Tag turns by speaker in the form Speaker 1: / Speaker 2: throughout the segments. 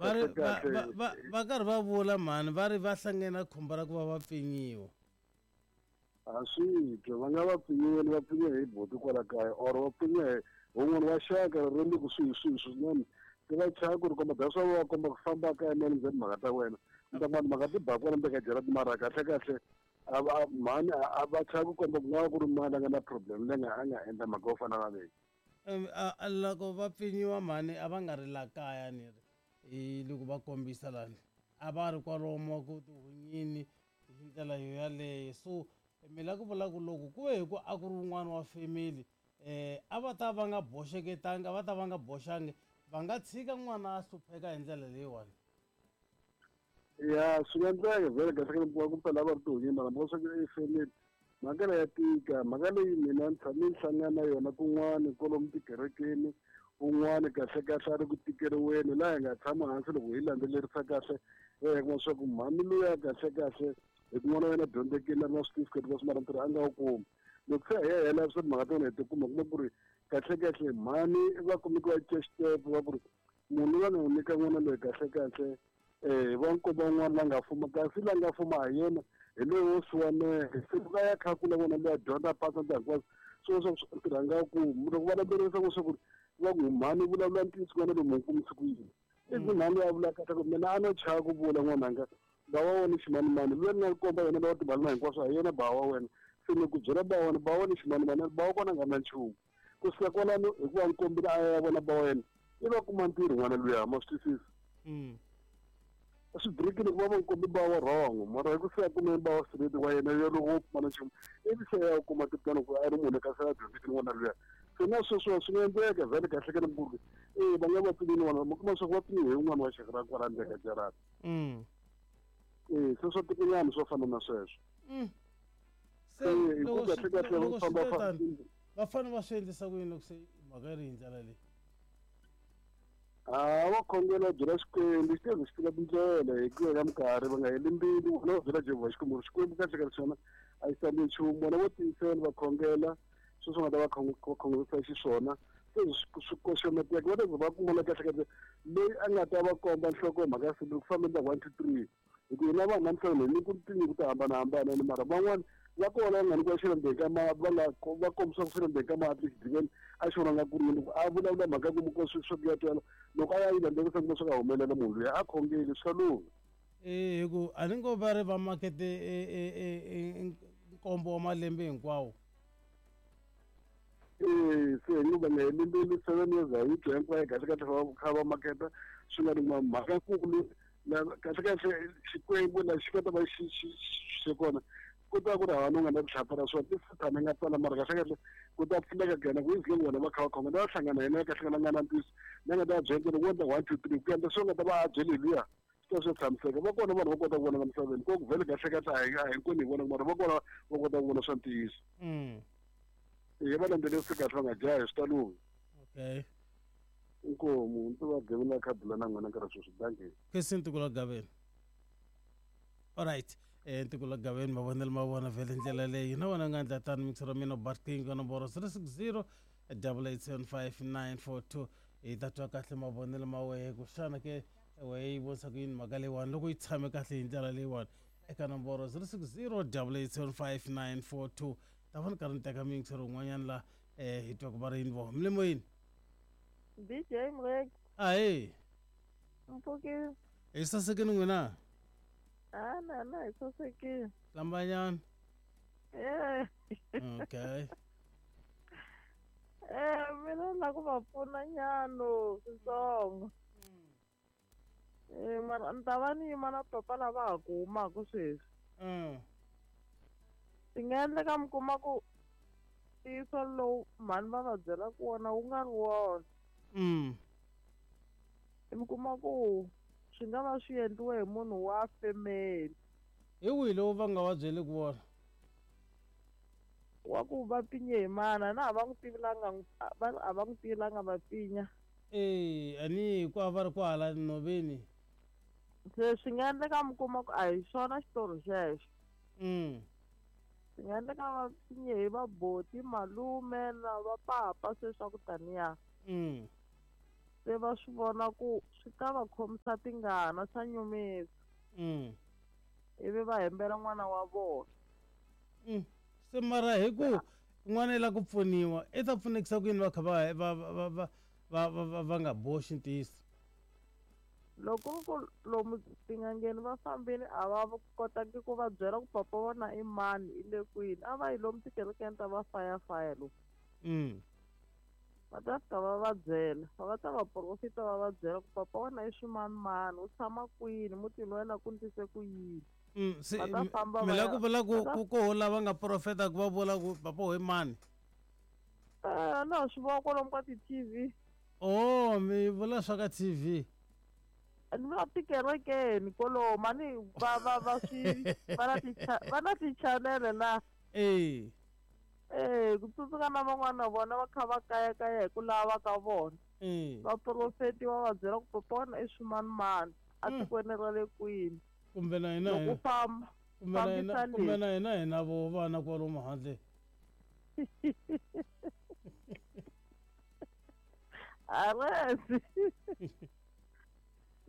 Speaker 1: Va ri va karhi va vula mhani va ri va hlangene na khombo ra ku va va pfinyiwa.
Speaker 2: A swi twa va nga va pfinyiweni va pfinyiwe hi buti kwala kaya or va pfinyiwe hi wun'wana wa xaka ri le kusuhi swihi swinene se va chava ku ri komba that's why va komba ku famba kaya mani ndzeni mhaka ta wena mi ta mani mhaka ti ba kwala ndzeni ka jarata mara kahle kahle a va mhani a va chava ku komba ku nga va ku ri mani a nga na problem leyi nga a nga endla mhaka yo fana na leyi.
Speaker 1: Loko va pfinyiwa mhani a va nga ri la kaya ni ri hi loko va kombisa lani a va ri kwalomu ku tihunyini hi ndlela yo yaleyo so mi la ku vula ku loko ku ve hi ku a ku ri wun'wana wa family a va ta va nga boxeketanga a va ta va nga boxangi va nga tshika n'wana a hlupheka hi ndlela leyiwani.
Speaker 2: Ya swi nga endleka vhele kahle kahle ku ku phela va ri tihunyi mara mhaka swa ku i family mhaka leyi ya tika mhaka leyi mina ni tshame ni hlangana na yona kun'wana kwalomu tikerekeni un'wana kahle kahle a ri ku tikeriweni laha hi nga tshama hansi loko hi landzelerisa kahle hi kuma swa ku mhani luya kahle kahle hi ku n'wana wa yena dyondzekile a ri na switifiketi leswi mara ntirho a nga wu kumi loko se hi ya hela swa timhaka ta wena hi tikuma kuma ku ri kahle kahle mhani va kumeke va cinca xitepe va ku ri munhu loyi a nga n'wi nyika n'wana loyi kahle kahle um va nkomba un'wana la nga fuma kasi la nga fuma ha yena hi loyi wo siwaneke se loko a ya kha kula n'wana loyi a dyondza a pasa ntirho hinkwaswo swo swa ntirho a nga kumi loko va landzelerisa ku swa ku ri va ku mhani vulavula ntiyiso n'wana loyi mu kumisi ku yini ivi mhani loyi a vula kahle ku mina a no chava ku vula n'wananga ba wa wena ximanimani loyi ni nga komba yena lowa timali na hinkwaswo ha yena ba wa wena se ni ku byela ba wa wena ba wa wena ximanimani ba wa kona a nga na nchumu ku suka kwalano hikuva ni kombile a ya vona ba wa yena i va kuma ntirho n'wana luya ma swi twisisa swi birikile ku va va kombe ba wa wrong mara hi ku se a kume ba wa straight wa yena yo loko wo pfumala nchumu ivi se ya kuma tipulani ku a ri munhu kasi a dyondzekile n'wana luya se na sweswo swi nga endleka vhele kahle ka ni e va nga va pfinile n'wana mi kuma swa ku va pfiniwe hi un'wana wa xaka ra kwala ndzeni ka jarata e se swa tikonyana swo fana na sweswo
Speaker 1: se loko kahle kahle va famba va fanele va swi endlisa ku yini loko se mhaka yi ri hi ndlela leyi?
Speaker 2: A va khongela byela Xikwembu xi ta xi tiva tindlela hi ku ya ka minkarhi va nga heli mbilu vona va byela Jehovha Xikwembu Xikwembu kahle kahle xona a xi tsandzeki nchumu vona vo tiyisela va khongela sweswo nga ta va khongerisa xiswona se swi koxometeka va ta ze va kuma la kahle kahle loyi a nga ta va komba nhloko mhaka ya siku ku famba endla 1 2 3 hi ku hina vanhu namuntlha hi ni ku tinyiko to hambanahambana ene mara van'wani va kona va nga nyikiwa xilo ndzeni ka ma va nga va kombisiwa xilo ndzeni ka mati exidiveni a xi vona nga ku ri yini a vulavula mhaka ku muko swi swa ku ya twala loko a ya yi landzelerisa kuma swi nga humelela munhu luya a khongeli swa lungha.
Speaker 1: E hi ku a ni ngo va ri va makete nkombo wa malembe hinkwawo.
Speaker 2: E se hi ngo va nga heli mbilu 7 years a yi twa hinkwayo kahle kahle va kha va maketa swi nga ri mhaka kulu kahle kahle Xikwembu la xi nga ta va xi xi xi kona ku ta ku ri hava no nga na rihlapfa ra swona ti sathana nga tsala mara kahle kahle ku ta pfuleka ka yena ku izile vona va kha va khonga va hlangana yena kahle kahle nga na ntiyiso na nga ta byela loko wo endla 1 2 3 ku endla swi nga ta va a byele luya swi ta swi tshamiseka va kona vanhu va kota ku vona ka misaveni ko ku vhele kahle kahle a hi hinkwenu hi vona mara va kona va kota ku vona swa ntiyiso e va landzelerisi kahle va nga jahi swi ta lungha.
Speaker 1: Okay.
Speaker 2: Inkomu ni tiva gaveni la khabula na n'wina nkarhi sweswi dankie.
Speaker 1: Khensi Ntukulu wa Gaveni. Alright. Ntukulu wa Gaveni mavonelo ma vona vhele ndlela leyi na wena u nga endla tano mixer wa mina Bart King ka nomboro 060 8875942 hi ta twa kahle mavonelo ma wehe ku xana ke wehe yi vonisa ku yini mhaka leyiwani loko yi tshame kahle hi ndlela leyiwani eka nomboro 060 8875942 ta va ni karhi ni teka mixer wun'wanyana la hi twa ku va ri yini voho milimo yini
Speaker 3: DJ Mrek.
Speaker 1: Ahee.
Speaker 3: Mpfukile.
Speaker 1: Hi sasekile n'wina?
Speaker 3: Ah, na na hi sasekile.
Speaker 1: Hlambanyana.
Speaker 3: Eh.
Speaker 1: Okay.
Speaker 3: Eh, mina ni la ku va pfuna nyana switsongo. Eh, mara ni ta va ni yima na papa lava ha ku humaka sweswi. Swi nga endleka mi kuma ku ntiyiso lowu mhani va va byelaka wona wu nga ri wona. Mi kuma ku swi nga va swi endliwe hi munhu wa family.
Speaker 1: Hi wihi lowu va nga va byeliki wona?
Speaker 3: Wa ku va pfinye hi mana na a va n'wi tivi la nga a va n'wi tivi la nga va pfinya.
Speaker 1: E a ni ku a va ri kwahala nhoveni.
Speaker 3: Se swi nga endleka mi kuma ku a hi xona xitori xexo. Swi nga endleka va pfinye hi va boti malume na va papa se swa ku taniya. Se va swi vona ku swi ta va khomisa tingana swa nyumisa. Ivi va hembela n'wana wa vona.
Speaker 1: Se mara hi ku n'wana i lava ku pfuniwa i ta pfunekisa ku yini va kha va nga boxi ntiyiso?
Speaker 3: Loko ku lomu tin'angeni va fambile a va kotangi ku va byela ku papa vona i mani i le kwini, a va yi lomu tikerekeni ta va fayafaya lomu. Va ta fika va va byela, va ta va profita va va byela ku papa wena i swimanimani, u tshama kwini, mutini wa yena ku ndlise ku yini.
Speaker 1: Se
Speaker 3: Va ta famba
Speaker 1: mi
Speaker 3: va
Speaker 1: la
Speaker 3: ya
Speaker 1: ku vula ku
Speaker 3: va ta
Speaker 1: ku koho lava nga profeta ku va vula ku papa ho i mani?
Speaker 3: Na swi vona kwalomu ka ti-T V.
Speaker 1: Oh, mi vula swa ka TV.
Speaker 3: Ni vula tikerekeni kwalomu, a ni va va va swi va na ti va na ti-channel la. Ku tsundzuka na van'wana na vona va kha va kayakaya hi ku lava ka vona. Va profetiwa va byela ku papa wena i swimanimani a tikweni ra le kwini.
Speaker 1: Kumbe na hina
Speaker 3: Loko
Speaker 1: hina
Speaker 3: famba,
Speaker 1: kumbe na hina
Speaker 3: fambisa
Speaker 1: kumbe
Speaker 3: leswi.
Speaker 1: na hina hina vo vana kwalomu handle.
Speaker 3: Aresi.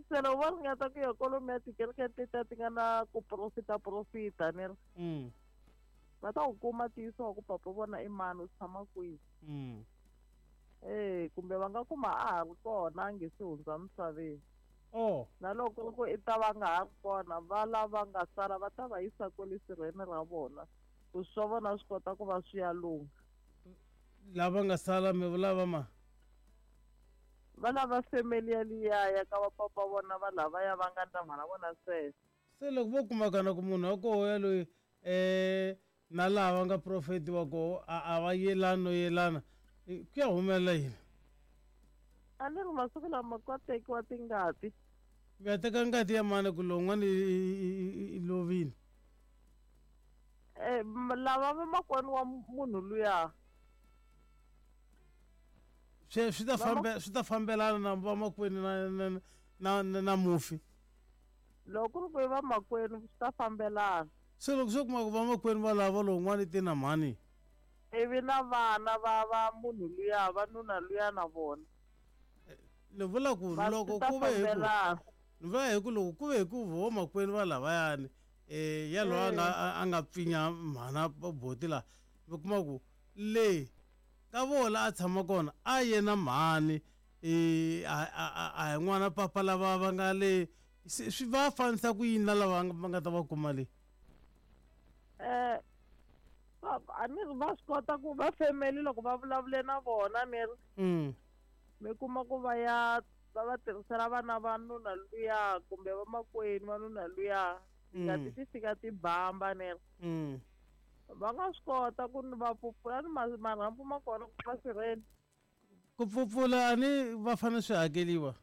Speaker 3: Se loko va ringeta ku ya kwalomu ya tikereke tetiya ti nga na ku profita profita ni ri. Va ta ku kuma ntiyiso wa ku papa vona i mani, u tshama kwihi. Kumbe va nga kuma a ha ri kona a nge se hundza misaveni. Na loko ku i ta va nga ha ri kona, va lava nga sala va ta va yisa kwale sirheni ra vona ku swa vona swi kota ku va swi ya lungha.
Speaker 1: Lava nga sala mi vula va ma?
Speaker 3: Va lava family yaliya ya ka va papa vona va lavaya va nga ndla mhana vona sweswo.
Speaker 1: Se loko vo kumakana ku munhu wa koho yaloyi na lava nga profetiwa koho a va yelani no yelana, ku ya humelela yini?
Speaker 3: A ni ri masiku lama ka tekiwa tingati.
Speaker 1: Mi ya teka ngati ya mani ku lowun'wana i lovile?
Speaker 3: Lava va makwenu wa munhu luya.
Speaker 1: Swi, swi ta
Speaker 3: Va ma-
Speaker 1: fambe, swi ta fambelana na vamakwenu na mufi.
Speaker 3: Loko ku ri ku i vamakwenu swi ta fambelana.
Speaker 1: Se loko swo kuma ku vamakwenu va lava lowun'wana i te na mhani.
Speaker 3: Ivi na vana va va munhu luya, va nuna luya na vona.
Speaker 1: Ni vula ku
Speaker 3: Va
Speaker 1: loko
Speaker 3: swi ta
Speaker 1: ku ve hi ku
Speaker 3: fambelana.
Speaker 1: ni vula hi ku loko ku ve hi ku vamakwenu va lavayani, ya loyi a nga a nga pfinya mhana boti la, mi kuma ku le ka vona a tshama kona a ye na mhani, a hi n'wana papa lava va nga le, se swi va fanisa ku yini na lava va nga ta va kuma le?
Speaker 3: A ni ri va swi kota ku va family loko va vulavule na vona ni ri mi kuma ku va ya va va tirhisela vana va nuna luya kumbe vamakwenu va nuna luya, tingati ti fika ti bamba ni ri. Va nga swi kota ku ni va pfupfula ni marhambu ma kona ku va sirheni.
Speaker 1: Ku pfupfula a ni va fanele swi hakeliwa?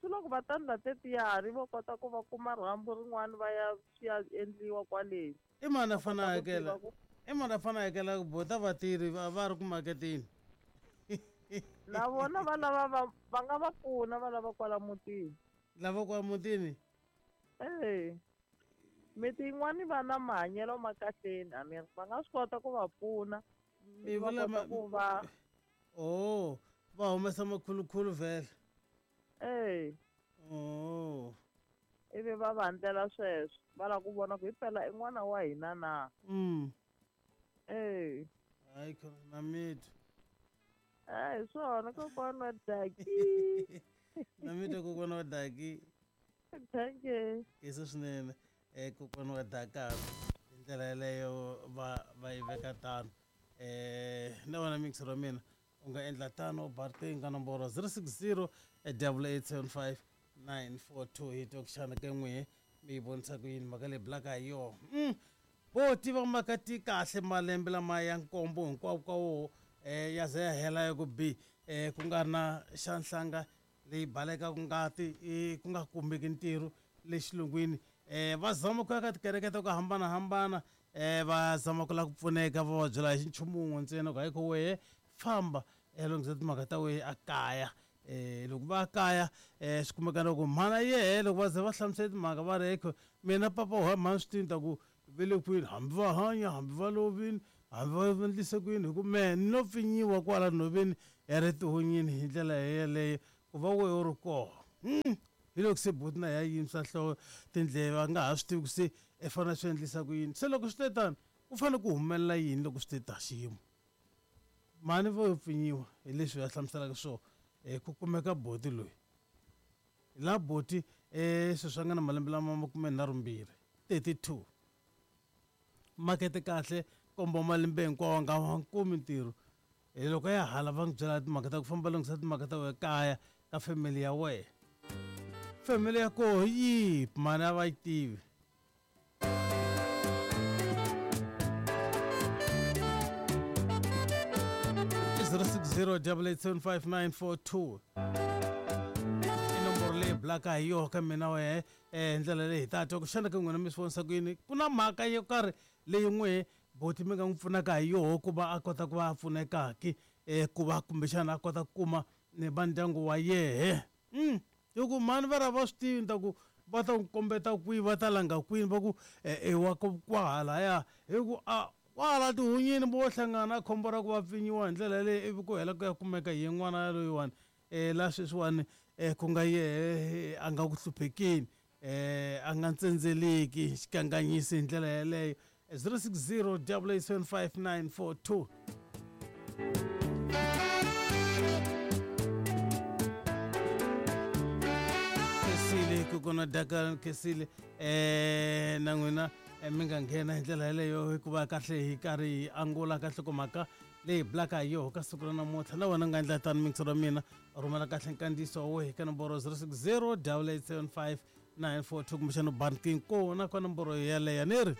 Speaker 3: Swi loko va ta ndla tetiyani vo kota ku va kuma rhambu rin'wana va ya swi ya endliwa kwale.
Speaker 1: I mani a fanele a
Speaker 3: Va kota ku
Speaker 1: hakela?
Speaker 3: tiva ku
Speaker 1: I mani a fanele a hakela ku bota vatirhi va ri ku maketeni?
Speaker 3: Na vona va lava va nga va pfuna va lava kwala mutini.
Speaker 1: Lava kwala mutini?
Speaker 3: Miti yin'wani va na mahanyelo ma kahleni, a ni ri va nga swi kota ku va pfuna.
Speaker 1: Mi
Speaker 3: Va
Speaker 1: vula
Speaker 3: kota
Speaker 1: ma-
Speaker 3: ku va
Speaker 1: Oh, va humesa makhulukhulu vhele. Oh.
Speaker 3: Ivi va va endlela sweswo, va lava ku vona ku hi phela i n'wana wa hina na.
Speaker 1: Hayi khona na mitwa.
Speaker 3: Hi swona kokwana wa Daki.
Speaker 1: Na mitwa kokwana wa Daki.
Speaker 3: Thank you.
Speaker 1: Kesa swinene. Kokwana wa Daka hi ndlela yeleyo va yi veka tano. Na wena mixer wa mina u nga endla tano ba riqingho ka nomboro zero six zero double eight seven five nine four two hi twa ku xana ka n'wihe mi yi vonisa ku yini mhaka leyi bulaka hi yona. Vo tiva mhaka ti kahle malembe lama ya nkombo hinkwavo ka woho, ya ze ya hela ya ku bi, ku nga ri na xa nhlanga leyi balekaka ngati, ku nga kumeki ntirho le xilungwini. Va zama ku ya ka tikereke ta ku hambanahambana, va zama ku lava ku pfuneka, va va byela hi nchumu wun'we ntsena ku hayi ko wehe famba, lunghisa timhaka ta wehe a kaya. Loko va kaya, swi kumeka loko mhana yehe loko va ze va hlamusela timhaka va ri ekho mina papa wa mhani swi tivi ta ku ve le kwini, hambi va hanya hambi va lovini hambi va endlise kwini, hi ku mehe ni lo pfinyiwa kwala nhoveni ri tihunyini hi ndlela yeleyo ku va wehe u ri koho. Hi loko se buti na ya yimisa nhloko tindleve a nga ha swi tivi ku se i fanele swi endlisa ku yini. Se loko swi te tano ku fanele ku humelela yini loko swi te ta xiyimo? Mhani vo yo pfinyiwa hi leswi va hlamuselaka swona ku kumeka boti loyi. La boti sweswi a nga na malembe lama 32, 32. Makete kahle komba malembe hinkwawo a nga wa kumi ntirho. Hi loko ya hala va n'wi byela timhaka ta ku famba lunghisa timhaka ta wena kaya ka family ya wena. Family ya koho hi yihi mhani a va yi tivi. 060 8875942 i nomboro leyi bulaka hi yoho ka mina wehe hi ndlela leyi hi ta twa ku xana ka n'wina mi swi vonisa ku yini ku na mhaka yo karhi leyi n'wehe boti mi nga n'wi pfunaka hi yoho ku va a kota ku va a pfunekaki ku va kumbexana a kota ku kuma ni va ndyangu wa yehe. Hi ku mhani va ri a va swi tivi ni ta ku va ta n'wi kombeta kwihi va ta langa kwini va ku i wa kwahalaya hi ku a kwahala tihunyini vo hlangana khombo ra ku va pfinyiwa hi ndlela yaleyo ivi ku hela ku ya kumeka hi n'wana yaloyiwani la sweswiwani ku nga yehe a nga ku hluphekeni a nga ntsendzeleki xikanganyisi hi ndlela yaleyo. 060 8875942. Khesile kokona daka khesile na n'wina mi nga nghena hi ndlela yaleyo hikuva kahle hi karhi hi angula ka nhlokomhaka leyi bulaka hi yoho ka siku ra namuntlha. Na wena u nga endla tano mixo ra mina rhumela kahle nkandziyiso wa wehe ka nomboro 060 8875942 kumbexana u ba riqingho kona ka nomboro yeleyo ni ri.